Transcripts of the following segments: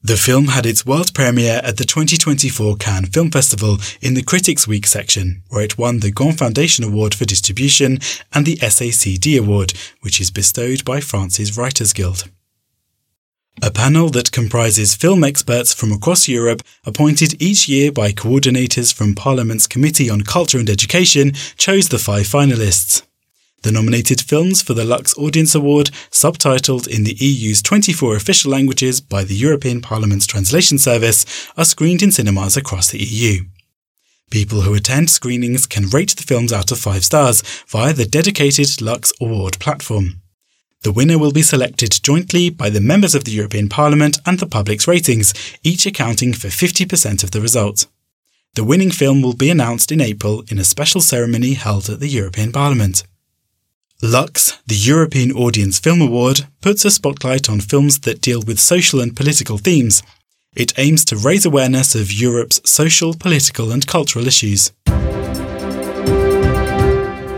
The film had its world premiere at the 2024 Cannes Film Festival in the Critics' Week section, where it won the Gond Foundation Award for Distribution and the SACD Award, which is bestowed by France's Writers Guild. A panel that comprises film experts from across Europe, appointed each year by coordinators from Parliament's Committee on Culture and Education, chose the five finalists. The nominated films for the Lux Audience Award, subtitled in the EU's 24 official languages by the European Parliament's Translation Service, are screened in cinemas across the EU. People who attend screenings can rate the films out of five stars via the dedicated Lux Award platform. The winner will be selected jointly by the members of the European Parliament and the public's ratings, each accounting for 50% of the result. The winning film will be announced in April in a special ceremony held at the European Parliament. Lux, the European Audience Film Award, puts a spotlight on films that deal with social and political themes. It aims to raise awareness of Europe's social, political, and cultural issues.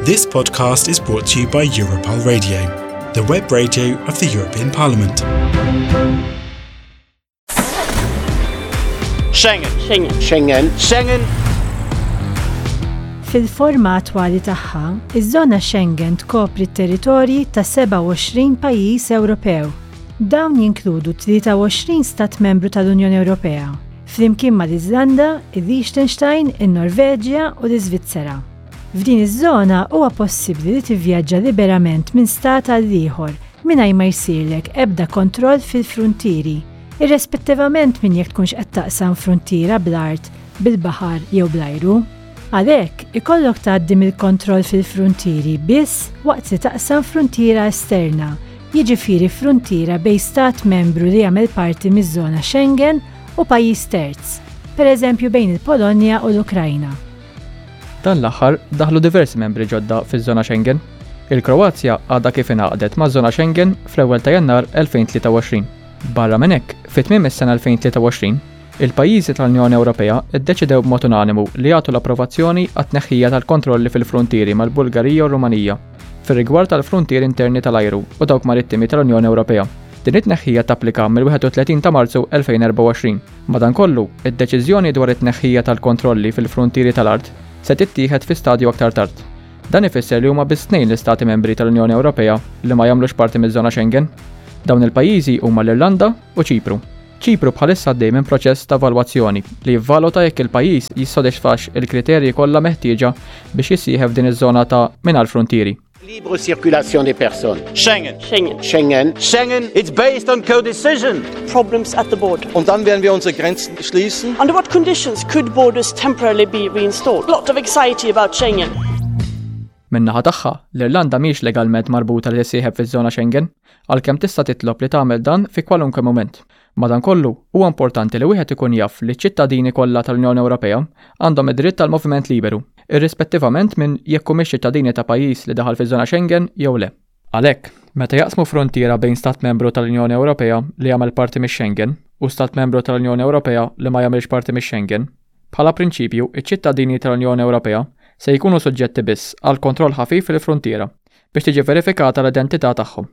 This podcast is brought to you by Europol Radio, the web radio of the European Parliament. Schengen. Schengen. Schengen. Schengen. Fil-forma attwali tagħha, iż-żona Schengen tkopri t-territorji ta' 27 pajjiż Ewropew. Dawn jinkludu 23 stat membru tal-Unjoni Ewropea, flimkien mal-Iżlanda, il-Liechtenstein, in-Norveġja u l-Iżvizzera. F'din iż-żona huwa possibbli li tivvjaġġa liberament minn stat għal ieħor mingħajr ma jsirlek ebda kontroll fil-fruntieri, irrespettivament minn jekk tkunx qed taqsam fruntiera bl-art, bil-baħar jew bl-ajru. Għalhekk, ikollok tgħaddi mill-kontroll fil-fruntieri biss waqt li taqsam fruntiera esterna, jiġifieri fruntiera bejn stat membru li jagħmel parti miż-żona Schengen u pajjiż terz, pereżempju bejn il-Polonja u l-Ukrajna. Dan l-aħħar daħlu diversi membri ġodda fiż-żona Schengen. Il-Kroazja għadha kif ingħaqdet maż-żona Schengen fl-ewwel ta' Jannar 2023. Barra minn hekk, fi tmiem is-sena 2023, Il-pajjiżi tal-Unjoni Ewropea ddeċidew b'mod unanimu li jagħtu l-approvazzjoni għat-tneħħija tal-kontrolli fil-fruntieri mal-Bulgarija u r-Rumanija fir-rigward tal-fruntieri interni tal-ajru u dawk marittimi tal-Unjoni Ewropea. Din it-tneħħija tapplika mill-31 ta' Marzu 2024. Madankollu, id-deċiżjoni dwar it-tneħħija tal-kontrolli fil-fruntieri tal-art se tittieħed fi stadju aktar tard. Dan ifisser li huma biss tnejn l-Istati Membri tal-Unjoni Ewropea li ma jagħmlux parti miż-żona Schengen. Dawn il-pajjiżi huma l-Irlanda u Ċipru. Ċipru bħalissa għaddej minn proċess ta' evalwazzjoni li jivvaluta jekk il-pajjiż jissodisfax il-kriterji kollha meħtieġa biex jissieħeb f'din iż-żona ta' mingħajr fruntieri. Libre circulation des personnes. Schengen. Schengen. Schengen. Schengen. It's based on co-decision. Problems at the border. Und dann werden wir unsere Grenzen schließen. Under what conditions could borders temporarily be reinstalled? Lot of anxiety about Schengen. Min-naħa tagħha, l-Irlanda mhijiex legalment marbuta li tissieħeb fiż-żona Schengen, għalkemm tista' titlob li tagħmel dan fi kwalunkwe mument. Madankollu, huwa importanti li wieħed ikun jaf li ċ-ċittadini kollha tal-Unjoni Ewropea għandhom id-dritt għall-moviment liberu, irrispettivament minn jekk humiex ċittadini ta' pajjiż li daħal fiż-żona Schengen jew le. Għalhekk, meta jaqsmu fruntiera bejn Stat Membru tal-Unjoni Ewropea li jagħmel parti mix-Schengen u Stat Membru tal-Unjoni Ewropea li ma jagħmilx parti mix-Schengen, Bħala prinċipju, iċ-ċittadini tal-Unjoni Ewropea se jkunu suġġetti biss għal kontroll ħafif fil-fruntiera biex tiġi verifikata l-identità tagħhom.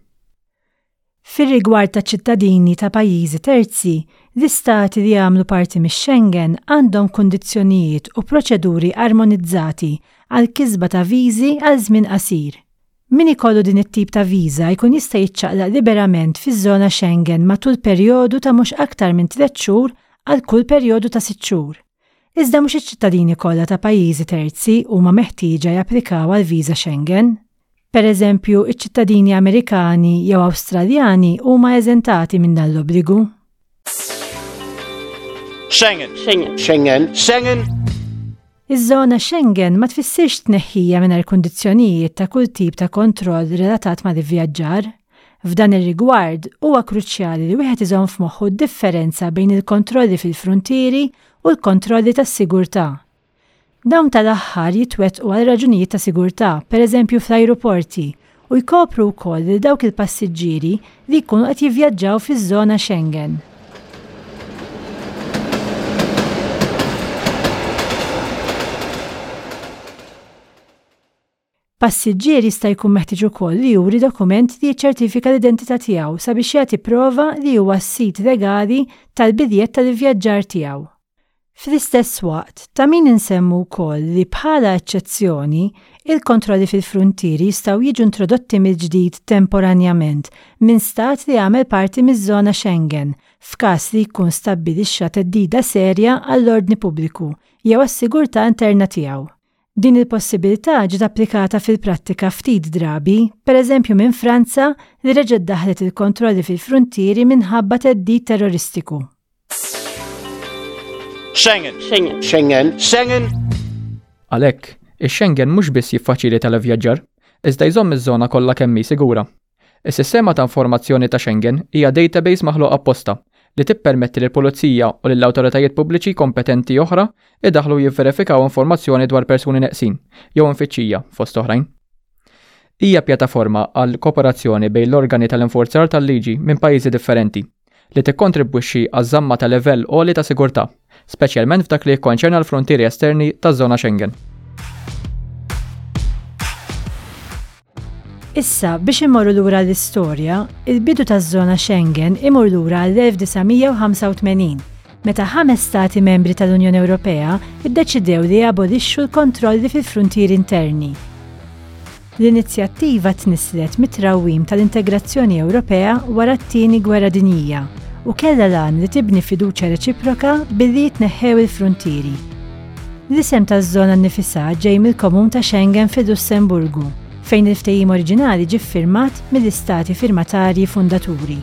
Fir-rigward ta' ċittadini ta' pajjiżi terzi, l-istati li jagħmlu parti mix-Schengen għandhom kundizzjonijiet u proċeduri armonizzati għall-kisba ta' viżi għal żmien qasir. Min ikollu din it-tip ta' viża jkun jista' jiċċaqlaq liberament fiż-żona Schengen matul perjodu ta' mhux aktar minn tliet xhur għal kull perjodu ta' sitt xhur. Iżda mhux iċ-ċittadini kollha ta' pajjiżi terzi huma meħtieġa japplikaw għal viża Schengen. Pereżempju, iċ-ċittadini Amerikani jew Awstraljani huma eżentati minn dan l-obbligu. Schengen. Schengen. Schengen. Schengen. Iż-żona Schengen ma tfissirx tneħħija mingħajr kundizzjonijiet ta' kull tip ta' kontroll relatat mal-ivvjaġġar. F'dan ir-rigward, huwa kruċjali li wieħed iżomm f'moħħu d-differenza bejn il-kontrolli fil-fruntieri u l-kontrolli tas-sigurtà. Dawn tal-aħħar jitwettqu għal raġunijiet ta' sigurtà, pereżempju fl-ajruporti, u jkopru wkoll lil dawk il-passiġġieri li jkunu qed jivvjaġġaw fiż-żona Schengen. Passiġġier jista' jkun meħtieġ ukoll li juri dokument li jiċċertifika l-identità tiegħu sabiex jagħti prova li huwa s-sid legali tal-biljett tal-ivvjaġġar tiegħu. Fl-istess waqt, ta' min insemmu wkoll li bħala eċċezzjoni, il-kontrolli fil-fruntieri jistgħu jiġu introdotti mill-ġdid temporanjament minn Stat li jagħmel parti miż-żona Schengen f'każ li jkun stabbilixxa theddida serja għall-ordni pubbliku jew għas-sigurtà interna tiegħu. Din il-possibilità ġiet applikata fil-prattika ftit drabi, pereżempju minn Franza li reġgħet daħħlet il-kontrolli fil-fruntieri minħabba theddid terroristiku. Schengen. Schengen. Schengen. Schengen. Għalhekk, ix-Schengen mhux biss jiffaċilita l-ivvjaġġar, iżda jżomm iż-żona kollha kemm hi sigura. Is-Sistema ta' Informazzjoni ta' Schengen hija database maħluqa apposta li tippermetti lill-pulizija u lil awtoritajiet pubbliċi kompetenti oħra jdaħħlu u jivverifikaw informazzjoni dwar persuni neqsin jew imfittxija, fost oħrajn. Hija pjattaforma għal kooperazzjoni bejn l-organi tal-infurzar tal-liġi minn pajjiżi differenti, li tikkontribwixxi għaż-żamma ta' livell għoli ta' sigurtà, speċjalment f'dak li jikkonċerna l-fruntieri esterni taż-żona Schengen. Issa, biex immorru lura l-istorja, il-bidu taż-żona Schengen imur lura għall-1985, meta ħames stati membri tal-Unjoni Ewropea ddeċidew li jabolixxu l-kontrolli fil-fruntieri interni. L-inizjattiva tnisslet mit-trawwim tal-integrazzjoni Ewropea wara t-Tieni Gwerra Dinjija u kellha l-għan li tibni fiduċja reċiproka billi jitneħħew il-fruntieri. L-isem taż-żona nnifisha ġej mill-komun ta' Schengen fil-Lussemburgu, fejn il-ftehim oriġinali ġie ffirmat mill-istati firmatarji fundaturi.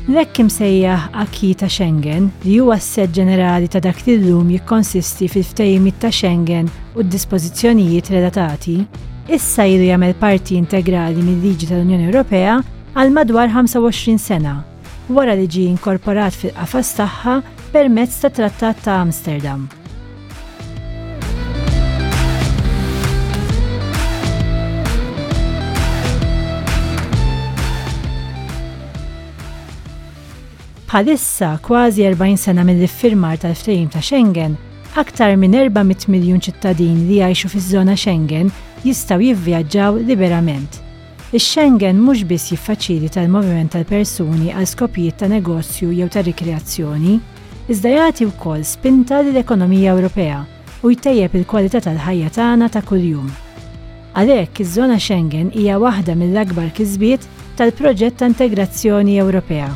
L-hekk imsejjaħ acquis ta' Schengen, li huwa s-sett ġenerali ta' dak li llum jikkonsisti fil-Ftehimiet ta' Schengen u d-dispożizzjonijiet relatati, issa ilu jagħmel parti integrali mil-liġi tal-Unjoni Ewropea għal madwar 25 sena, wara li ġie inkorporat fil-qafas tagħha permezz tat-Trattat ta' Amsterdam. Bħalissa, kważi 40 sena mill-iffirmar tal-Ftehim ta' Schengen, aktar minn 400 miljun ċittadin li jgħixu fiż-żona Schengen jistgħu jivvjaġġaw liberament. Ix-Schengen mhux biss jiffaċilita l-moviment tal-persuni għal skopijiet ta' negozju jew ta' rikreazzjoni, iżda jagħti wkoll spinta lill-ekonomija Ewropea u jtejjeb il-kwalità tal-ħajja tagħna ta' kuljum. Għalhekk, iż-żona Schengen hija waħda mill-akbar kisbiet tal-proġett ta' integrazzjoni Ewropea.